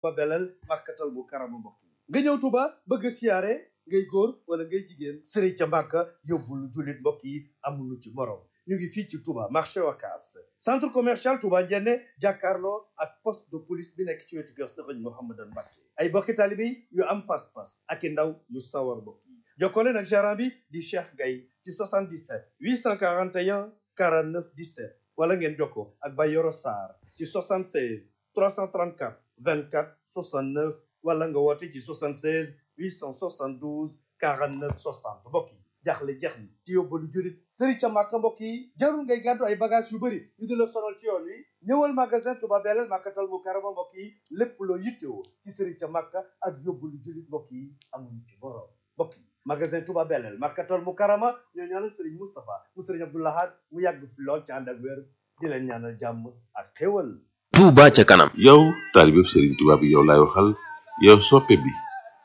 ba belal màkkatal bu karama mbokk yi nga ñëw Touba bëgg a siyaare ngay góor wala ngay jigéen sëriñ ca Mbàkka yóbbul jullit mbokk yi amuñu ci morom ñu ngi fii ci Touba marché Ocass centre commercial Touba Njenne jàkkaarloo ak poste de police bi nekk ci wetu kër sëriñ Mouhamadan Mbacké ay bokki taalibe yi yu am pas-pas ak i ndaw yu sawar mbokk yi jokkoo leen ak gérant bi di Cheikh Gaye ci 77 841 49 17 wala ngeen jokkoo ak Bayoro Sarr ci 76 334 24 69 wala nga woote ci 76 872 49 60 mbokk yi jaaxle jeex ni ci yóbbalu jurit sëriñ ca Màkka mbokk yi jarul ngay gàddu ay bagage yu bëri yu di la sonal ci yoon wi ñëwal magasin Touba Belel Màkkatal Mukarrama mbokk yi lépp loo yittewoo ci sëriñ ca Màkka ak yóbbalu jurit mbokk yi amuñu ci borom mbokk yi magasin Touba Belel Màkkatal Mukarrama ñoo ñaanal sëriñ Moustapha mu sëriñ Abdou Lahad mu yàgg fi lool ci ànd ak wér di leen ñaanal jàmm ak xéwal. Touba ca kanam. yow taalibe Serigne Touba bi yow laay waxal yow soppe bi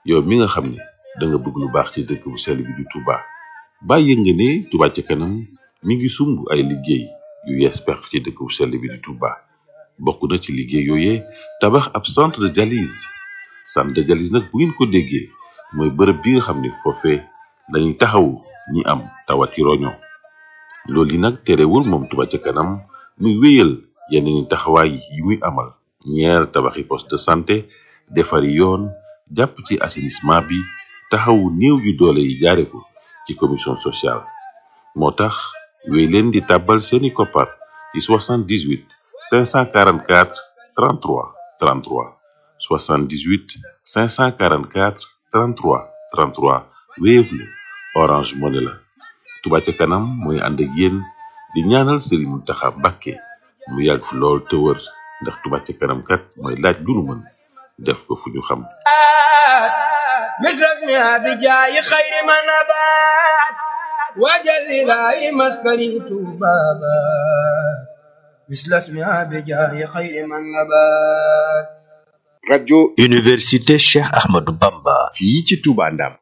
yow mi nga xam ne da nga bëgg lu baax ci dëkk bu sell bi di Touba bàyyi nga ne Touba ca kanam mi ngi sumb ay liggéey yu yees peq ci dëkk bu sell bi di Touba bokk na ci liggéey yooyee tabax ab centre de dialyse nag bu ngeen ko déggee mooy bërëb bi nga xam ne foofee lañuy taxawu ñi am tawati roño loolu yi nag terewul moom Touba ca kanam muy wéyal yeneen taxawaay yi muy amal ñeer tabaxi poste de santé defari yoon jàpp ci assainissement bi taxawu néew yu doole yi jaare ko ci commission sociale moo tax wéy leen di tàbbal seeni koppar ci 78 544 33 33 78 544 33 33 Wave la Orange Money la Touba ca kanam mooy ànd ak yéen di ñaanal Serigne Mountakha Mbacké mu yàgg fi lool te wër ndax Touba ca kanam kat mooy laaj lu nu mën def ko fu ñu xam مثلك بجاي خير ما نبات وجل لا مسكن بابا مثل اسمها بجاي خير ما نبات radio université Cheikh Ahmadou Bamba fii ci Touba Ndam